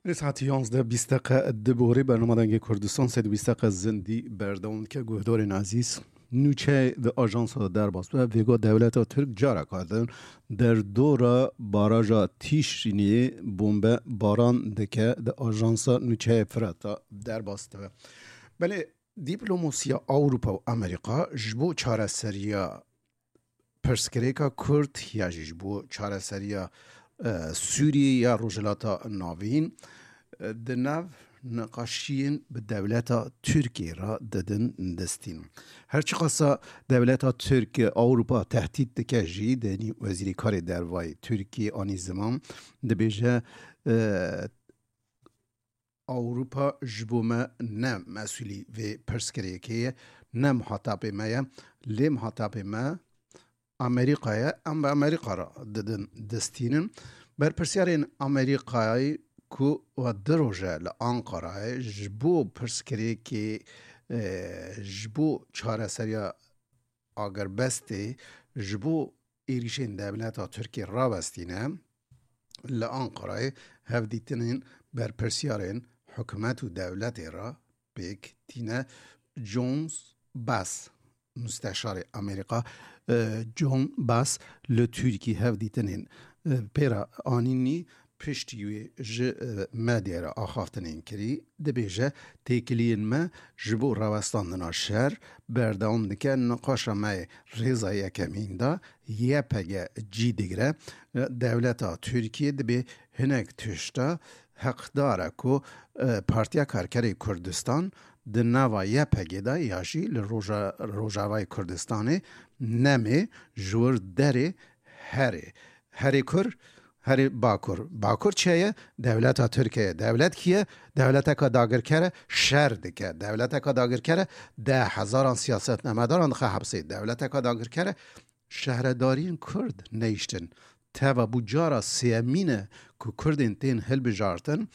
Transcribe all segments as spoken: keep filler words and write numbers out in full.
Lê saet yanzdeh bîst deqe diborî bernama Dengê Kurdistan sed û bîst deqe zindî berdewam dike. Guhdarên ezîz, nûçe di ajansa de derbas bû. Vêga dewleta Tirk careka din derdora baraja Tîşrînê bombe baran dike, di ajansa nûçeyê Firata derbas dibe. Belê diplomasiya Ewropa û Amerîka ji bo çareseriya pirsgirêka Kurd ya jî ji bo çareseriya, e, Sûriyê ya Rojhilata Navîn, e, di nav niqaşiyên bi dewleta Tirkiyê re didin destîn. Her çiqasa dewleta Tirk Ewropa tehdît dike jî, denî Wezîrê Karê Dervayê Tirkiyê anî ziman, dibêje, e, Ewropa ji bo me ne mesûlî vê pirsgirêkê ye, ne muhatapê me ye, lê muhatapê me Amerîka ye, em bi Amerîka re didin destînin. Berpirsyarên Amerîkayê ku wa du roj e li Anqarayê ji bo pirsgirêkê, e, ji bo çareseriya agirbestê, ji bo êrîşên dewleta Tirkiyê rawestîne, li Anqarayê hevdîtinên berpirsyarên hikûmet û dewletê re pêk tîne. John Bass, musteşarê Amerîka, e, John Bass li Tirkî hevdîtinên, e, pê re anînî. Piştî wê ji, e, medyayê re axaftinên kirî, dibêje, têkiliyên me ji bo rawestandina şer berdewam dike. Niqaşa me yê rêza yekemîn de Y P G cî digire. Dewleta Tirkiyê dibê hinek tişta heqdar e ku, e, Partiya Karkerê Kurdistan di nava Y P G de ya jî li roja-, Rojavayê Kurdistanê nemê ji wir derê herê. Herê kur, herê bakur. Bakur çi ye? Dewleta Tirkiye ye. Dewlet kî ye? Dewleteka dagirker e, şer dike. Dewleteka dagirker e, deh hezaran siyasetmemedaran dixe hepsê. Dewleteka dagirker e, şehredariyên Kurd neyiştin. Teva bû cara sêyemîn e ku Kurdên tên hilbijartin,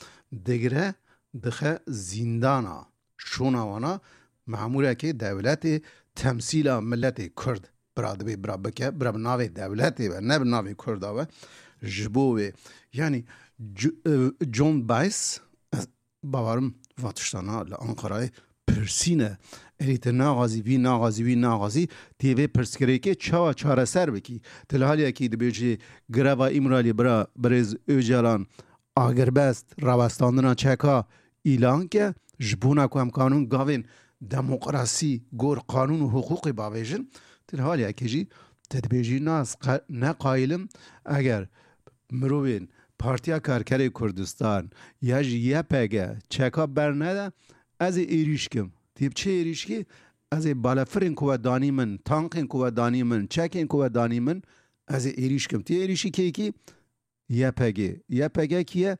digire dixe zîndana. Şûna wana memûrekê dewletê temsîla miletê Kurd bira dibê bira bike, bira bi navê dewletê be, ne bi navê Kurda be. Ji bo wê, yanî, Ju-, e, John Bass, ez bawerim va tiştana li Anqarayê pirsîne. Erê te naxazî, vî naxazî, vî naxazî, tê vê pirsgirêkê çawa çareser bikî? Til haliyekî dibêjî greva Îmralî bira birêz Ocalan agirbest, rawestandina çeka îlan ke, ji bona ku em kanûn gavên demokrasî, gor qanûn û hiqûqê bavêjin, til haliyekê jî te dibêjî, na ez qe-, ne qayîl im, eger mirovên Partiya Karkerê Kurdistan ya jî Y P G çeka bernede, ez ê êrîş kim. Tê bi çi êrîş kî? Ez ê balefirên ku we danî min, tankên ku we danî min, çekên ku we danî min, ez ê êrîş kim. Tê êrîşî kê kî? Y P G. Y P G kî ye?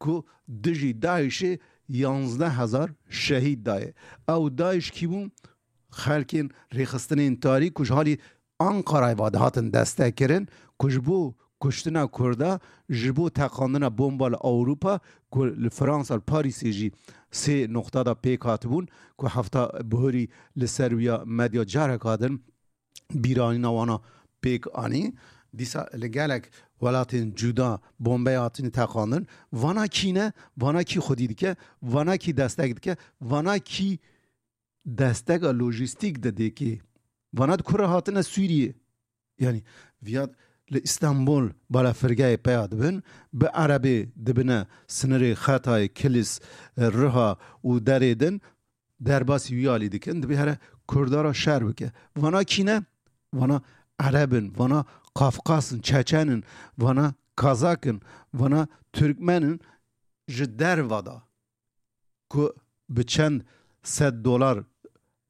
Ku dijî DAIŞê yanzdeh hezar şehîd daye. Ew DAIŞ kî bûn? Xelkên rêxistinên tarî ku ji halî Anqarayê ve dihatin destek kirin, ku ji bo kuştina Kurda, ji bo teqandina bomba li Ewropa, ku li Fransa, li Parîsê jî sê noqta de pêk hatibûn, ku hefta bihurî li ser wiya medya careka din bîranîna wana pêk anî. Dîsa li gelek welatên cuda bombeya hatine teqandin. Vana kî ne? Vana kî xwedî dike? Vana kî destek dike? Vana kî desteka lojîstîk didê kê? Vana di ku re hatine Sûriyê? Yanî viya li Îstanbul balafirgehê peya dibin, bi erebê dibine sinirê Xetayê, Kilis, Riha û derê din, derbasî wî alî dikin, dibê here Kurda re şer bike. Vana kî ne? Vana ereb in, vana Kafkas in, Çeçen in, vana Kazak in, vana Tirkmen in, ji derva da ku bi çend sed dolar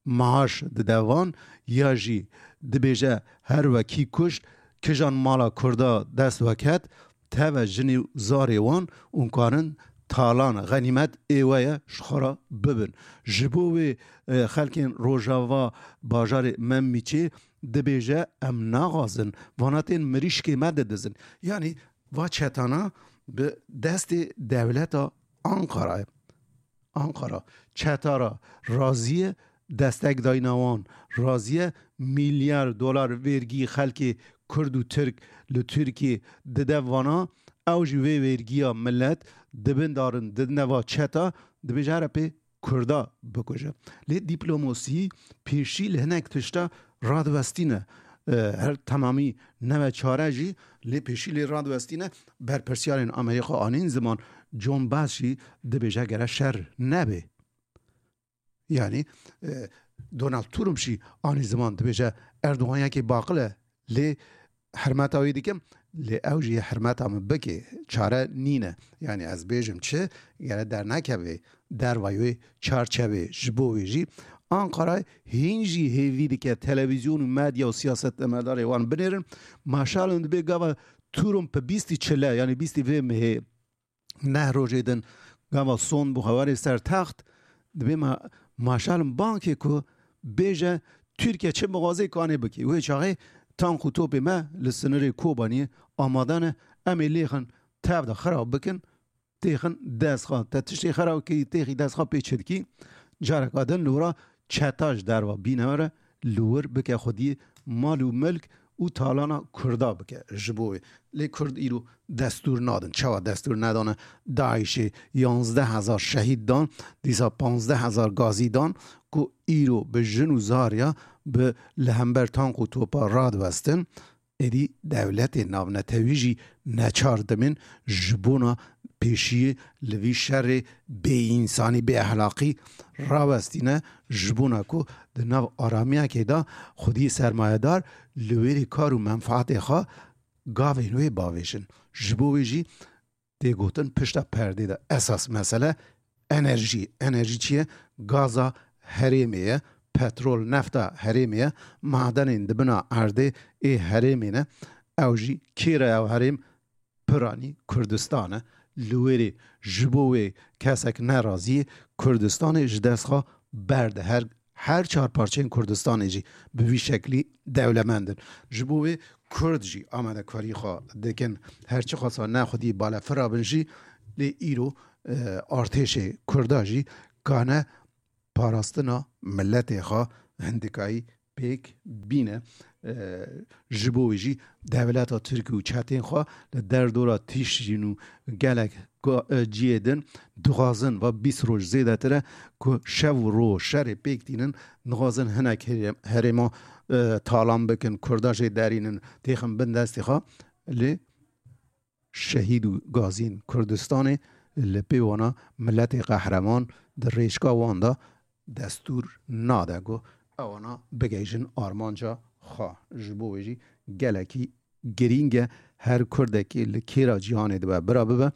maaş dide wan, ya jî dibêje her wekî kuşt, kijan mala Kurda dest weket, teve jinê û zarê wan û karin talan, xenîmet ê we ye, ji xwe re bibin. Ji bo wê, e, xelkên Rojava bajarê Memîçê dibêje, em naxwazin, vana tên mirîşkê me didizin. Yanî va çetana bi destê dewleta Anqara ye. Anqara çeta re razî ye, destek dayîna wan razî ye, milyar dolar vergî xelkê Kurd û Tirk li Tirkiyê dide vana, Ew jî vê wêrgiya millet dibindarin, didine va çeta, dibêje here pê Kurda bikuje. Lê dîplomosî pêşî li hinek tişta radiwestîne. E, her temamî nebe çare jî lê pêşî lê radiwestîne. Berpirsiyarên Amerîka anîn ziman, John Bass jî dibêje gere şer nebê. Yanî, e, Donald Trump jî anî ziman dibêje Erdogan yekê baqil e, lê hirmeta wî dikim, lê ew jî hirmeta min bike, çare nîne. Yanî ez bêjim çi, gere dernekeve dervayê wê çarçevê. Ji bo wê jî Anqara hîn jî hêvî dike televîzyon û medya û siyasetmedarê wan binêrin. Maşalin dibê gava Trump bi bîstî çile, yanî bîstî vê mehê neh rojê din gava son bû xewarê ser text, dibê ma, maşalin bankê ku bêje Tirkiye çi mixwazê kanê bikî. Wê çaxê tank û topê me li sinirê Kobaniyê amade ne, em ê lêxin tev de xirab bikin, têxin destxa. Te tiştê xirab kî, têxî destxa pê çi dikî? Careka din li wira çeta ji derva bîne were, li wir bike xwediyê mal û milk û talana Kurda bike ji bo wê. Lê Kurd îro destûr nadin. Çawa destûr nedane? DAIŞê yanzdeh hezar şehîd dan, dîsa panzdeh hezar gazî dan ku îro bi jin û zarya bi li hember tank û topa radiwestin. Êdî dewletên navnetewî jî neçar dimin ji bona pêşiyê li vî şerê bêînsanî, bêehlaqî rawestîne, ji bona ku di nav aramiyekê de xwedî sermayedar li wêrê kar û menfaetê xwe gavên wê bavêjin. Ji bo wê jî tê gotin pişta perdê de esas mesele enerjî. Enerjî çi ye? Gaza herêmê ye, petrol, nefta herêmê ye, madenên di bina erdê ê herêmê ne. Ew jî kê re? Ew herêm piranî Kurdistan e. Li wêrê ji bo wê kesek nerazî yê Kurdistanê ji dest xwe berde. Her her çar parçeyên Kurdistanê jî bi vî şeklî dewlemend in. Ji bo wê Kurd jî amadekarî xwe dikin. Her çiqasa ne xwedî balefira bin jî, lê îro, e, artêşê Kurda jî kane parastina miletê xwe hindikayî pêk bîne. E, ji bo wê jî dewleta Tirk û çetên xwe li derdora Tîşrîn û gelek ga-, e, ciyê din dixwazin, va bîst roj zêdetir e ku şev û roj şerê pêk tînin, dixwazin hinek herê-, herêma, e, talan bikin, Kurda jê derînin, têxin bin destê xwe. Lê şehîd û gazîn Kurdistanê li pê wana miletê qehreman di rêçka wan de destûr nade ku ewana bigihîjin armanca xwe. Ji bo wê jî gelekî girîng e, her Kurdekî li kêra cîhanê dibe bira bibe,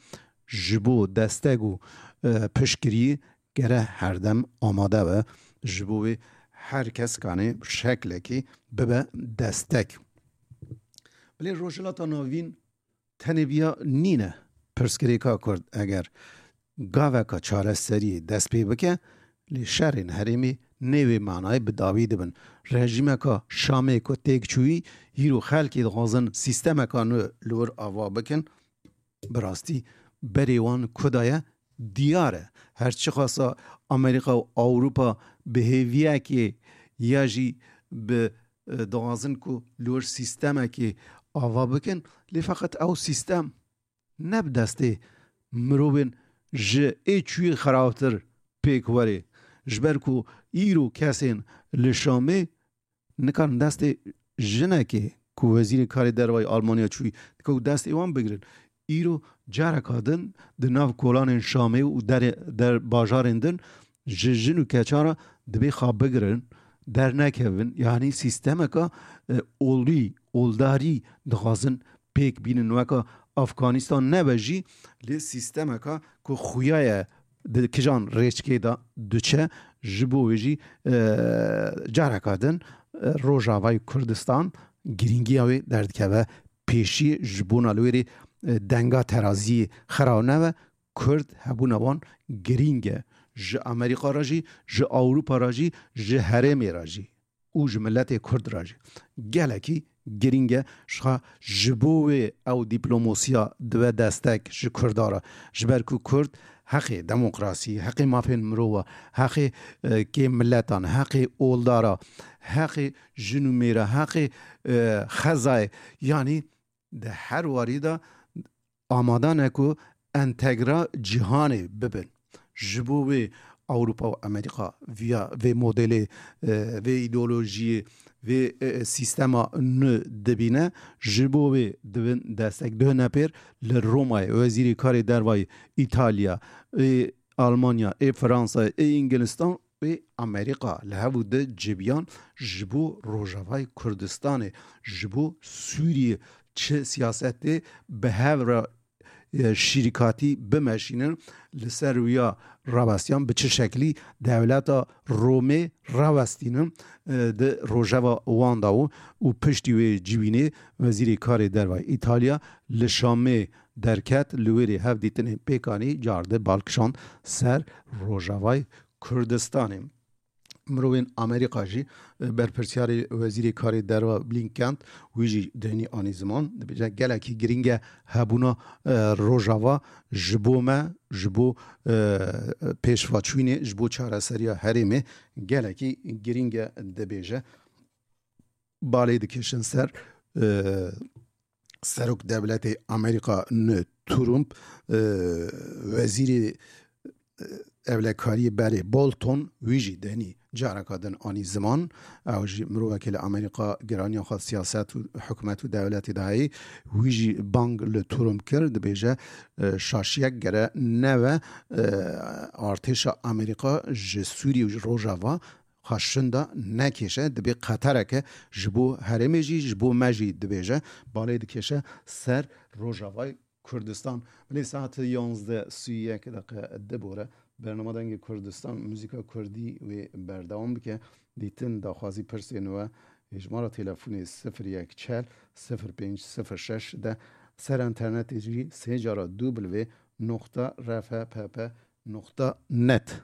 ji bo destek û, e, piştgiriyê gere herdem amade be. Ji bo wê her kes kanê şeklekî bibe destek. Bilê Rojhilata Navîn tenê viya nîne. Pirsgirêka Kurd eger gaveka çareseriyê dest pê bike, lê şerên herêmê nê wê manayê bi dawî dibin. Rejîmeka Şamê ku têk çûyî, hîro xelkê dixwazin sîstemeka nû li wir ava bikin. Bi rastî berê wan ku de ye diyar e. Her çiqasa Amerîka û Ewropa bi hêviyekê ya jî bi, e, dixwazin ku li wir sîstemekê ava bikin, lê feqet ew sîstem ne bi destê mirovên ji ê çûyî xerabtir pêk werê. Ji ber ku îro kesên li Şamê nikarin destê jinekê ku wezîrê karê dervayî Almanya çûyî, dikewt destê wan bigirin. Îro careka din di nav kolanên Şamê û derê, der bajarên din ji jin û keça re dibê xwe bigirin, dernekevin. Yanî sîstemeka, e, olî, oldarî dixwazin pêk bînin, weka Afganistan nebe jî, lê sîstemeka ku xuya ye di kijan rêçkê de diçe, ji bo wê jî, e, careka din, e, Rojavayê Kurdistan girîngiya wê derdikeve pêşiyê, ji bona li wêrê, e, denga teraziyê xira nebe. Kurd hebûna wan girîng e. Ji Amerîka re jî, ji Ewropa re jî, ji herêmê re jî û ji miletê Kurd re jî gelekî girîng e. Ji xwe ji bo wê ew dîplomasiya dibe destek ji Kurda re. Ji ber ku Kurd heqê demokrasî, heqê mafên mirova, heqê, e, kêm miletan, heqê oldara, heqê jin û mêra, heqê, e, xezayê, yanî di her warî de amade ne ku entegra cîhanê bibin. Ji bo wê Ewropa û Amerîka viya vê modelê, e, vê îdeolojiyê, vê, e, sîstema nû dibîne, ji bo wê dibin destek. Duh nepêr li Romayê wezîrê karê dervayî Îtalya, ê Almanya, ê Fransa, ê Îngilistan, ê Amerîka li hev û di cibiyan ji bo Rojavayê Kurdistanê, ji bo Sûriyê çi siyasetê bi hev re, e, şîrîkatî bimeşînin, li ser wiya rawestiyan bi çi şeklî dewleta Romê rawestînin, e, di rojeva wan de û, û piştî wê civînê wezîrê karê dervayê Îtalya li Şamê derket, li wêrê hevdîtinên pêkanî car di bal kişand ser Rojavayê Kurdistanê. Mirovên Amerîka jî, e, berpirsiyarê wezîrê karê derva Blinken, wî jî deynî anî ziman, dibêje gelekî girîng e hebûna, e, Rojava ji bo me, ji bo, e, pêşvaçûnê, ji bo çareseriya herêmê gelekî girîng e, dibêje. Balê dikişin ser, e, Serok Dewletê Amerîka nû Trump, e, wezîrê, e, ewlekariyê berê Bolton, wî jî denî careka din anî ziman. Ew jî mirovekê li Amerîka giraniya xwe siyaset û hikûmet û dewletê de heyî. Wî jî bang li Trump kir, dibêje, e, şaşiyek gere neve, e, artêşa Amerîka ji Sûriyê û ji Rojava xwe şinda nekêşe, dibê qetereke ji bo herêmê jî, ji bo me jî dibêje, balê dikêşe ser Rojavayê Kurdistan. Belê saet yanzdeh sî yek deqe dibore. Bernama Dengê Kurdistan, muzîka kurdî wê berdewam bike. Dîtin, daxwazî, pirsên we, hêjmara telefonê sifir yek çel sifir pênc sifir şeş de, ser enternetê jî sê cara W noqta R F P P noqta net.